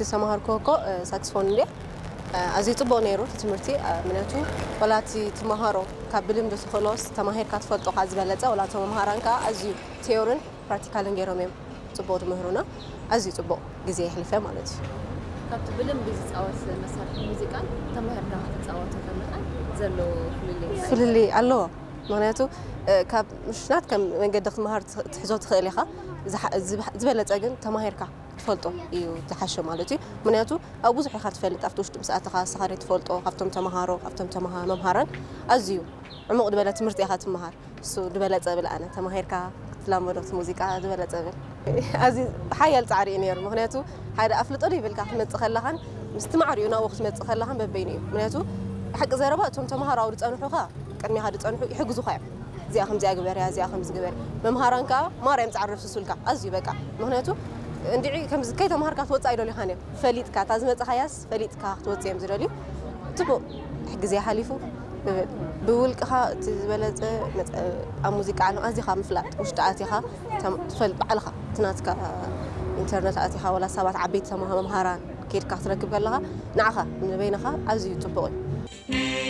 ዝተማሃርኩ እኮ ሳክስፎን እንድየ። ኣዝዩ ጽቡቕ ነይሩ እቲ ትምህርቲ። ምክንያቱ ዋላ እቲ ትመሃሮ ካብ ብልምዲ ትኽእሎስ ተማሂርካ ትፈልጦ ካብ ዝበለጸ፣ ዋላ እቶም መምሃራን ከዓ ኣዝዩ ቲዮርን ፕራክቲካልን ገይሮም እዮም ጽቡቕ ትምህሩና። ኣዝዩ ጽቡቕ ግዜ የሕሊፈ ማለት እዩ። ካብቲ ብልምዲ ዝፃወት መሳርሒ ሙዚቃን ተማሂርካ ክትፃወቶ ከለኻን ዘሎ ፍልልይ እንታይ እዩ? ፍልልይ ኣለዎ። ምክንያቱ ካብ ምሽናት ከም መንገዲ ክትመሃር ትሕዞ ትኽእል ኢኻ። ዝበለፀ ግን ተማሂርካ ትፈልጦ እዩ ዝሓሸ ማለት እዩ። ምክንያቱ ኣብ ብዙሕ ኢኻ ትፈልጥ ኣብቲ ውሽጢ ምስ ኣተኻ ንስኻ ትፈልጦ ካብቶም ተምሃሮ ካብቶም ተምሃ መምሃራን ኣዝዩ ዕሙቕ ዝበለ ትምህርቲ ኢኻ ትምሃር። እሱ ዝበለፀ ብል ኣነ ተማሂርካ ክትላመዶ እቲ ሙዚቃ ዝበለፀ ብል። ኣዝዩ ሓያል ፃዕሪ እዩ ነይሩ። ምክንያቱ ሓደ ኣፍልጦ ዘይብልካ ክትመፅእ ከለኻን ምስቲ ማዕሪኡ ናብኡ ክትመፅእ ከለኻን በበይኑ እዩ። ምክንያቱ ሓቂ ዘረባ እቶም ተምሃሮ ኣብኡ ዝፀንሑኻ ቅድሚኻ ዝፀንሑ ይሕግዙኻ እዮም። እዚኣ ከምዚኣ ግበርያ እዚኣ ከምዚ ግበርያ። መምሃራን ከዓ ማርያም ፃዕሪ ፍሱልካ ኣዝዩ በቃ። ምክንያቱ እንድዒ ከምዚ ከይተምሃርካ ትወፅእ ኣይደልዩኻን እዮም። ፈሊጥካ እታ ዝመፅኻያስ ፈሊጥካ ክትወፅእ እዮም ዝደልዩ። ፅቡቕ ግዜ ሓሊፉ ብብል ብውልቅኻ እቲ ዝበለፀ ኣብ ሙዚቃ ዓለም ኣዚኻ ምፍላጥ ውሽጢ ኣቲኻ ትፈልጥ ባዕልኻ እቲ ናትካ ኢንተርነት ኣቲኻ ወላ ሰባት ዓበይቲ ተማሃ መምሃራን ከይድካ ክትረክብ ከለኻ ንዓኻ ንበይንኻ ኣዝዩ ፅቡቕ እዩ።